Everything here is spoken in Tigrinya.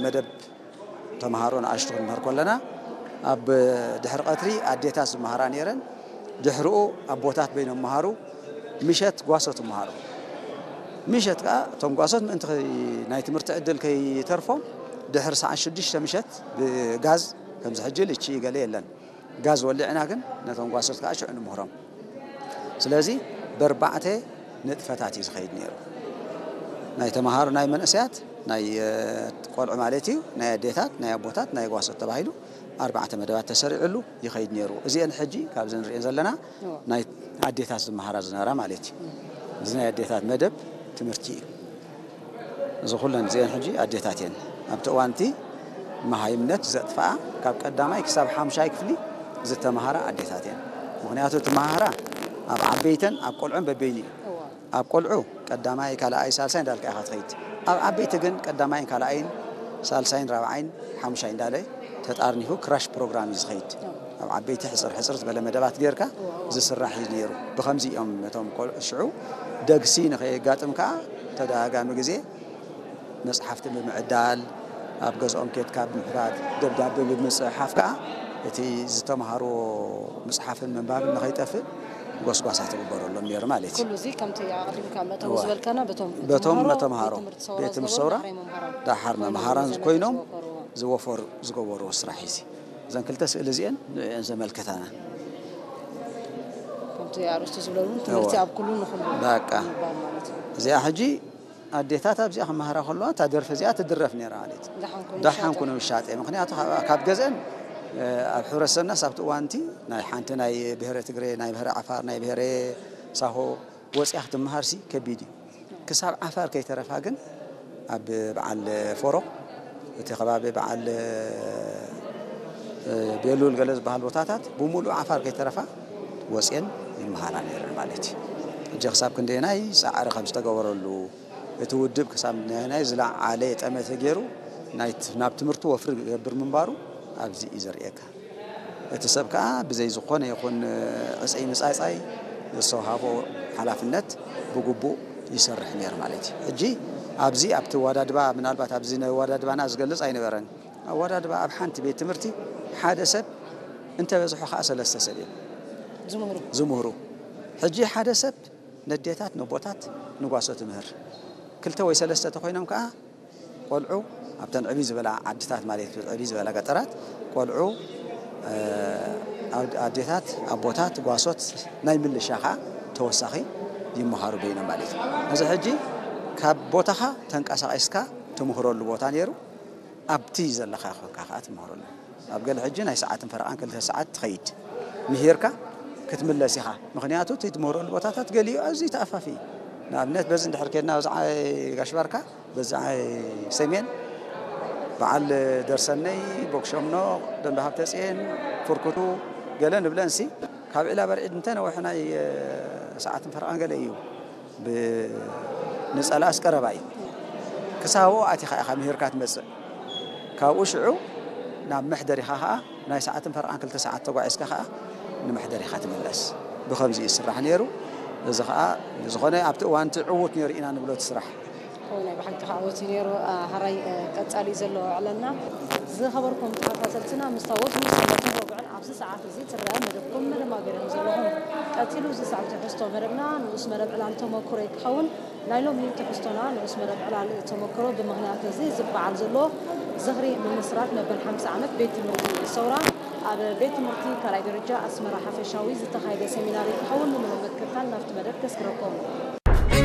መደብ ተምሃሮ ንኣሽቱ ክንምህር ከለና ኣብ ድሕሪ ቀትሪ ኣዴታት ዝመሃራ ነይረን። ድሕርኡ ኣቦታት በይኖም መሃሩ፣ ምሸት ጓሶት ይመሃሩ። ምሸት ከኣ እቶም ጓሶት ምእንቲ ከይ-፣ ናይ ትምህርቲ ዕድል ከይተርፎም ድሕሪ ሰዓት ሽዱሽተ ምሸት ብጋዝ፣ ከምዚ ሕጂ ልቺ ገለ የለን፣ ጋዝ ወሊዕና ግን ነቶም ጓሶት ከኣ ሽዑ ንምህሮም። ስለዚ በርባዕተ ንጥፈታት እዩ ዝኸይድ ነይሩ። ናይ ተምሃሮ፣ ናይ መንእሰያት፣ ናይ ቆልዑ ማለት እዩ፣ ናይ ኣዴታት፣ ናይ ኣቦታት፣ ናይ ጓሶት ተባሂሉ ኣርባዕተ መደባት ተሰሪዕሉ ይኸይድ ነይሩ። እዚአን ሕጂ ካብዚ ንሪኤን ዘለና ናይ ኣዴታት ዝመሃራ ዝነበራ ማለት እዩ። እዚ ናይ ኣዴታት መደብ ትምህርቲ እዩ። እዚ ኩለን እዚአን ሕጂ ኣዴታት እየን። ኣብቲ እዋንቲ መሃይምነት ዘጥፍኣ ካብ ቀዳማይ ክሳብ ሓምሻይ ክፍሊ ዝተምሃራ ኣዴታት እየን። ምኽንያቱ እቲ መሃራ ኣብ ዓበይተን ኣብ ቆልዑን በበይኑ እዩ። ኣብ ቆልዑ ቀዳማይ፣ ካልኣይ፣ ሳልሳይ እንዳልካ ኢኻ ትኸይድ። ኣብ ዓበይቲ ግን ቀዳማይን ካልኣይን ሳልሳይን ራብዓይን ሓሙሻይ እንዳለ ተጣርኒፉ ክራሽ ፕሮግራም እዩ ዝኸይድ። ኣብ ዓበይቲ ሕፅር ሕፅር ዝበለ መደባት ጌርካ ዝስራሕ እዩ ነይሩ። ብኸምዚ እዮም እቶም ቆልዑ ሽዑ ደግሲ ንኸየጋጥም ከዓ ተደጋጋሚ ግዜ መፅሓፍቲ ብምዕዳል፣ ኣብ ገዝኦም ኬድካ ብምሕታት፣ ደብዳቤ ብምፅሕሓፍ ከዓ እቲ ዝተምሃርዎ ምፅሓፍን ምንባብን ንኸይጠፍእ ጎስጓሳት ይግበረሎም ነይሩ ማለት እዩ። ኩሉ እዚ ከምቲ ኣቐዲምካ መእተዊ እዋ። ዝበልካና በቶም በቶም ተምሃሮ መተምሃሮ ቤት ትምህርቲ ሰውራ ቤት ትምህርቲ ዝነበሩ ሰውራ ዳሕራይ መምሃራን ዳሓር ኮይኖም መምሃራን ዝነበሩ ኮይኖም ዝወፈሩ። ዝወፈሩ ዝገበርዎ ስራሕ እዩ እዚ። እዘን ክልተ ስእሊ እዚአን ንዕን ዘመልክታና። ከምቲ ኣርእስቱ ዝብለሉ ትምህርቲ እዋ። ኣብ ኩሉ ንኹሉ በቃ። ምባል ማለት እዩ። እዚኣ ሕጂ ኣዴታት ኣብዚኣ ክመሃራ ከለዋ እታ ደርፊ እዚኣ ትድረፍ ነይራ ማለት እዩ። ደሓን ኩኑ ደሓን ይሻጠ። ኩኑ ይሻጠ። ምኽንያቱ ካብ፣ ካብ ገዝአን፣ እ፣ ኣብ ሕብረተሰብናስ ኣብቲ እዋንቲ ናይ ሓንቲ ናይ ብሄረ ትግሬ፣ ናይ ብሄረ ዓፋር፣ ናይ ብሄረ ሳሆ ወፂኣ ክትመሃርሲ ከቢድ እዩ። ክሳብ ዓፋር ከይተረፋ ግን ኣብ በዓል ፎሮ፣ እቲ ከባቢ በዓል፣ እ፣ ቤሉል ገለ ዝበሃል ቦታታት ብምሉእ ዓፋር ከይተረፋ ወፅየን ይመሃራ ነይረን ማለት እዩ። ሕጂ ክሳብ ክንደየናይ ፃዕሪ ከም ዝተገበረሉ፣ እቲ ውድብ ክሳብ ክንደየናይ ዝለዓለ ጠመተ ገይሩ ናይ ት-፣ ናብ ትምህርቲ ወፍሪ ክገብር ምንባሩ ኣብዚ እዩ ዘርእየካ። እቲ ሰብ ከኣ ብዘይ ዝኾነ ይኹን ዕፅይ ምፃፃይ ዝተውሃቦ ሓላፍነት ብግቡእ ይሰርሕ ነይሩ ማለት እዩ። ሕጂ ኣብዚ ኣብቲ ኣወዳድባ፣ ምናልባት ኣብዚ ናይ ኣወዳድባና ዝገልፅ ኣይነበረን። ኣወዳድባ ኣብ ሓንቲ ቤት ትምህርቲ ሓደ ሰብ እንተበዝሑ ከኣ ሰለስተ ሰብ እዮም ዝምህሩ። ዝምህሩ። ሕጂ ሓደ ሰብ ነዴታት፣ ነቦታት፣ ንጓሶ ትምህር። ክልተ ወይ ሰለስተ ተኾይኖም ከኣ ቆልዑ ኣብተን ዕብይ ዝበላ ዓድታት ማለት እዩ፣ ዕብይ ዝበላ ገጠራት ቆልዑ፣ እ፣ ኣድ-፣ ኣዴታት፣ ኣቦታት፣ ጓሶት ናይ ምልሻ ከኣ ተወሳኺ ይመሃሩ በይኖም ማለት እዩ። እዚ ሕጂ ካብ ቦታኻ ተንቀሳቒስካ ትምህረሉ ቦታ ነይሩ፣ ኣብቲ ዘለኻ ኮንካ ከኣ ትምህረሉ። ኣብ ገለ ሕጂ ናይ ሰዓትን ፈረቓን ክልተ ሰዓት ትኸይድ። ምሂርካ ክትምለስ ኢኻ። ምኽንያቱ እቲ ትምህረሉ ቦታታት ገሊኡ ኣዝዩ ተኣፋፊ እዩ። ንኣብነት በዚ እንድሕር ኬድና በዚ ዓይ ጋሽ ባርካ፣ በዚ ዓይ ሰሜን፣ በዓል ደርሰነይ፣ ቦክሸምኖ፣ ደንበ ሃብተፅየን፣ ፍርኩቱ፣ ገለ ንብለንሲ፣ ካብ ዒላ በርዒድ እንተነውሐ ናይ፣ እ፣ ሰዓትን ፈረቓን ገለ እዩ። ብ-፣ ንፀላእስ ቀረባ እዩ። ክሳብ ኣብኡ ኣቲኻ ኢኻ ምሂርካ ትመፅእ። ካብኡ ሽዑ ናብ መሕደሪኻ ኸዓ ናይ ሰዓትን ፈረቓን ክልተ ሰዓት ተጓዒዝካ ኸዓ ንመሕደሪኻ ትምለስ። ብኸምዚ እዩ ዝስራሕ ነይሩ። እዚ ኸዓ ብዝኾነ ኣብቲ እዋን እቲ ዕዉት ነይሩ ኢና ንብሎ እቲ ስራሕ። እወ፣ ናይ ብሓቂ ከዓ ወፂኡ ነይሩ። አ፣ ሕራይ፣ አ፣ ቀፃሊ ዘሎ ዕለልና። ዝኸበርኩም ተኸታተልትና፣ ምስታ ወትሩ ሰንበትን ረቡዕን ኣብዚ ሰዓት እዚ ትረአ መደብኩም መደብ ኣገሪኹም ዘለኹም። ቀፂሉ እዚ ሰዓት ትሕዝቶ መደብና ንኡስ መደብ ዕላል ተመክሮ ክኸውን። ናይ ሎሚ ትሕዝቶና ንኡስ መደብ ዕላል ተመክሮ ብምኽንያት እዚ ዝበዓል ዘሎ ዝኽሪ ምምስራት መበል ሓምሳ ዓመት ቤት ትምህርቲ ሰውራ ኣብ ቤት ትምህርቲ ካልኣይ ደረጃ ኣስመራ ሓፈሻዊ ዝተኻየደ ሰሚናር ክኸውን ንምሉእ ምክትታል ናብቲ መደብ ከስግረኩም።